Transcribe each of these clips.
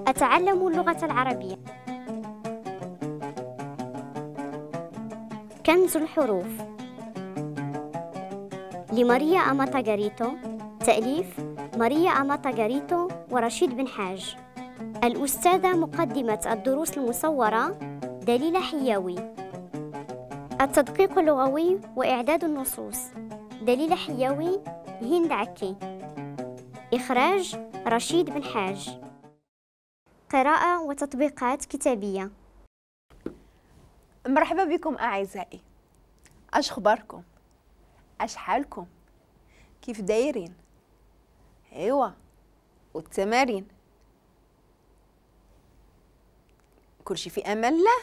أتعلم اللغة العربية. كنز الحروف لماريا أماتا غاريتو، تأليف ماريا أماتا غاريتو ورشيد بن حاج. الأستاذة مقدمة الدروس المصورة دليلة حياوي. التدقيق اللغوي وإعداد النصوص دليلة حياوي، هند عكي. إخراج رشيد بن حاج. قراءة وتطبيقات كتابية. مرحبا بكم أعزائي، أش خباركم؟ أش حالكم؟ كيف دايرين؟ ايوا والتمارين كلشي في امان الله.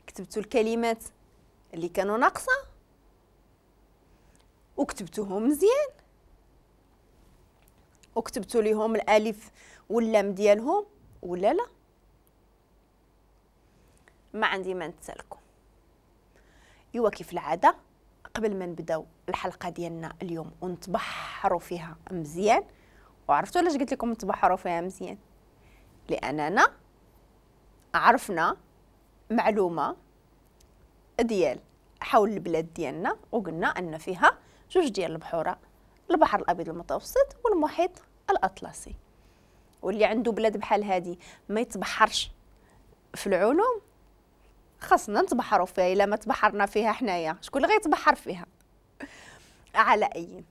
كتبتوا الكلمات اللي كانوا ناقصه وكتبتوهم مزيان وكتبتوا ليهم الالف واللام ديالهم ولا لا؟ ما عندي ما نتسالكم. ايوا كيف العادة قبل ما نبداو الحلقة ديالنا اليوم ونتبحروا فيها مزيان، وعرفتوا علاش قلت لكم نتبحروا فيها مزيان؟ لاننا عرفنا معلومة ديال حول البلاد ديالنا وقلنا ان فيها جوج ديال البحوره، البحر الابيض المتوسط والمحيط الاطلسي. واللي عنده بلاد بحال هادي ما يتبحرش في العلوم، خاصنا نتبحروا فيها. الا ما تبحرنا فيها حنايا شكون اللي غيتبحر فيها؟ على اي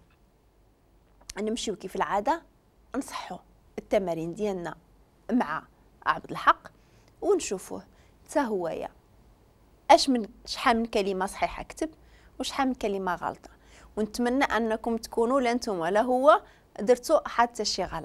نمشيو كيف العادة نصحوا التمارين ديالنا مع عبد الحق ونشوفوه حتى هويا اش من شحال من كلمة صحيحه كتب وشحال من كلمة غلطه. ونتمنى انكم تكونوا لا نتوما لا هو درتو حتى شي غلط.